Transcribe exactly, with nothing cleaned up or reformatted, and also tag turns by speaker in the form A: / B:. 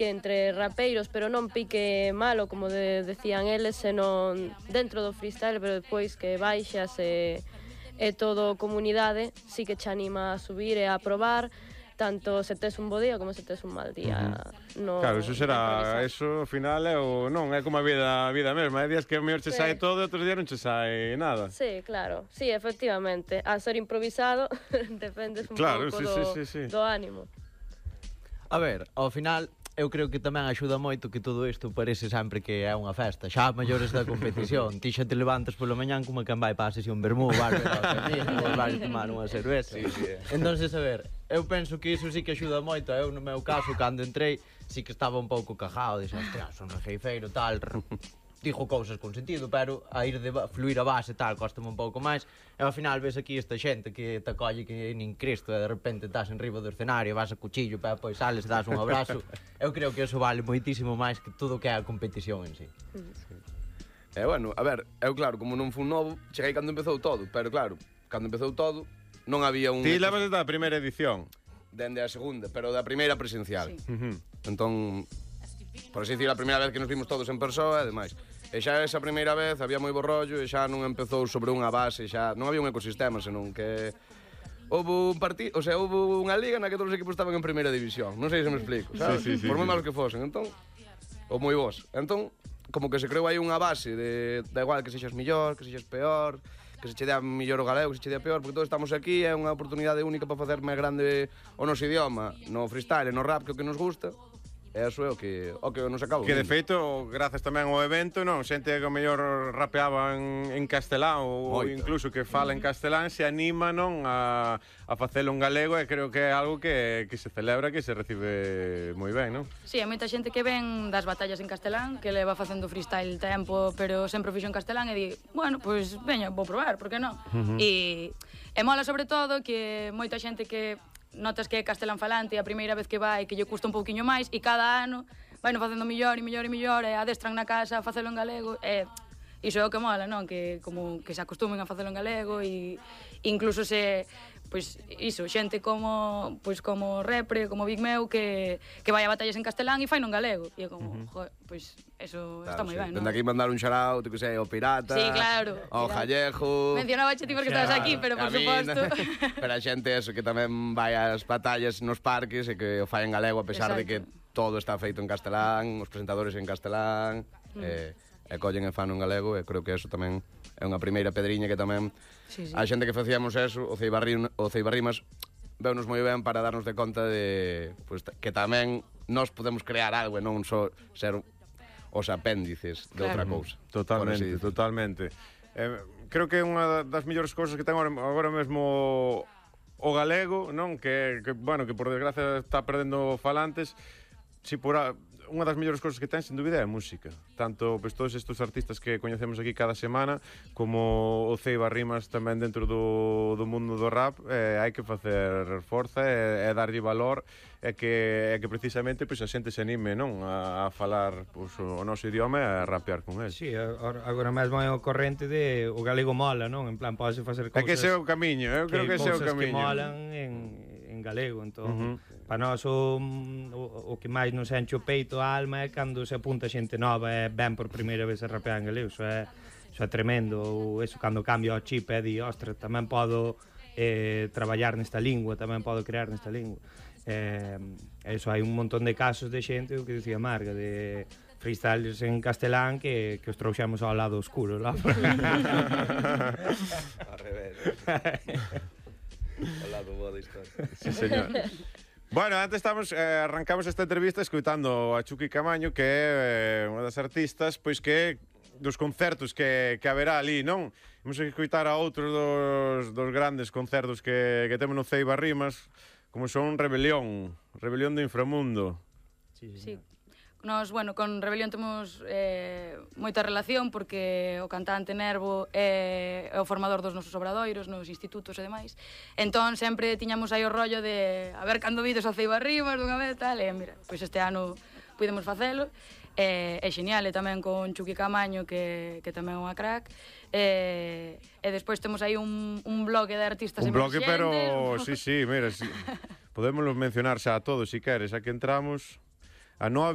A: entre rapeiros, pero non pique malo, como de, decían eles, senón dentro do freestyle, pero depois que baixas e, e todo comunidade, sí que che anima a subir e a probar, tanto se tes un bo día como se tes un mal día.
B: Uh-huh.
A: No,
B: claro, eso será, eso ao final é o non, é como a vida, a vida mesma, hai días que a mellor che sí. Sai todo e outros días non che sai nada.
A: Sí, claro, sí, efectivamente, a ser improvisado dependes un
B: claro,
A: pouco
B: sí,
A: do,
B: sí, sí, sí.
A: do ánimo.
C: A ver, ao final eu creo que tamén axuda moito que todo isto parece sempre que é unha festa. Xa maiores da competición, ti xa te levantas polo mañán como que vai para a sesión vermú, vas a tomar unha cerveza.
B: Sí, sí.
C: Entonces, a ver, eu penso que iso sí que axuda moito. Eu, no meu caso, cando entrei, sí que estaba un pouco cajado, dixo, hostia, son rejeifeiro, tal, dijo cousas con sentido, pero a ir de fluir a base tal, costame un pouco máis. E ao final ves aquí esta xente que te acolle que nin Cristo e de repente estás en riba do escenario, vas a cuchillo, pero depois sales, das un abrazo. Eu creo que eso vale moitísimo máis que todo o que é a competición en sí.
D: E bueno, a ver, eu claro, como non fui novo, cheguei cando empezou todo, pero claro, cando empezou todo non había un...
B: Ti levas desde a primeira edición?
D: Dende a segunda, pero da primeira presencial.
A: Sí.
B: Uh-huh.
D: Entón, por así dicir, a primeira vez que nos vimos todos en persoa e demais. E xa esa primeira vez había moi bo rollo e xa non empezou sobre unha base, xa non había un ecosistema, senón que houve un partido, o sea, houve unha liga na que todos os equipos estaban en primeira división. Non sei se me explico, sabes?
B: Sí, sí, sí,
D: por moi
B: sí.
D: malos que fosen, entón, ou moi bons. Entón, como que se creou aí unha base de da igual que sexas millor, que sexas peor, que se che dea mellor o galego, que se che dea peor, porque todos estamos aquí, é unha oportunidade única para facer máis grande o noso idioma, no freestyle, no rap, que é o que nos gusta. E iso é o que, o que nos acabo.
B: Que de feito, grazas tamén ao evento, non, xente que o mellor rapeaba en, en castelán ou
D: Moito.
B: incluso que fala en castelán se anima, non, a, a facelo en galego e creo que é algo que, que se celebra, que se recibe moi ben, non?
E: Sí, hai moita xente que ven das batallas en castelán, que leva facendo freestyle tempo, pero sempre fixo en castelán e di, bueno, pois pues, veña, vou probar, por que non? Uh-huh. E, e mola sobre todo que moita xente que notas que é castelán falante a primeira vez que vai, que lle custa un pouquiño máis e cada ano vai no facendo mellor e mellor e mellor e adestran na casa a facelo en galego e iso é o que mola, non? Que como que se acostumen a facelo en galego e incluso se pois iso, xente como pois como Repre, como Big Meu que que vai a batallas en castelán e fai non galego e é como, uh-huh. joder, pois eso claro, está moi
D: sí.
E: ben, non?
D: Dende aquí mandar un shout, que sei, ao Pirata,
E: sí, claro,
D: ao Jallejo.
E: Mencionaba che ti porque estabas aquí, pero por suposto.
D: Pero a xente eso que tamén vai ás batallas nos parques e que o fai en galego a pesar
E: exacto.
D: de que todo está feito en castelán, os presentadores en castelán, mm. e, e collen e fan en galego e creo que eso tamén é unha primeira pedriña que tamén sí, sí. A xente que facíamos eso, o Ceibarrim, o Ceibarrimas veunos moi ben para darnos de conta de pues, que tamén nós podemos crear algo e non só ser os apéndices de claro. Outra cousa.
B: Totalmente, totalmente. Eh, creo que é unha das mellores cousas que ten agora, agora mesmo o galego, non? Que, que, bueno, que por desgracia está perdendo falantes. Si por a, unha das mellores cousas que ten, sen dúbida, é a música. Tanto pois, todos estes artistas que coñecemos aquí cada semana, como o Ceibarrimas tamén dentro do, do mundo do rap, eh, hai que facer forza e, e darlle valor e que, e que precisamente pois, a xente se anime, non, a, a falar pois, o noso idioma e a rapear con el.
F: Sí, agora mesmo é o corrente de o galego mola, non? En plan, pode facer cousas...
B: É que ese é o camiño, eu creo que, que ese é o camiño.
F: Que molan en, en galego, entón... Uh-huh. Para nós o, o, o que máis nos enche o peito a alma é cando se apunta xente nova e ven por primeira vez a rapear en galego, iso é, iso é tremendo. Ou eso cando cambia o chip e di, ostra, tamén podo eh, traballar nesta lingua, tamén podo crear nesta lingua. Eh, eso, hai un montón de casos de xente, o que dicía Marga, de freestyles en castelán que, que os trouxemos ao lado oscuro lá.
D: Ao revés. Ao lado boa da historia.
B: Sí, señor. Bueno, antes estamos, eh, arrancamos esta entrevista escoitando a Chucky Camaño, que é eh, unha das artistas, pois que dos concertos que, que haberá ali, non? Vamos a escoitar a outros dos, dos grandes concertos que, que temos no Ceibarrimas, como son Rebelión, Rebelión do Inframundo.
E: Sí, sí. Nos, bueno, con Rebelión temos eh, moita relación porque o cantante Nervo é, é o formador dos nosos obradoiros nos institutos e demais. Entón sempre tiñamos aí o rollo de a ver cando vides a Ceibarrimas dunha vez tal, e mira, pois este ano pudemos facelo. É, é genial, e tamén con Chucky Camaño que, que tamén é unha crack. E, e despois temos aí un, un bloque de artistas
B: un bloque, pero
E: un
B: sí, sí, mira, sí. Podémoslo mencionar xa a todos, si queres, a que entramos. a nove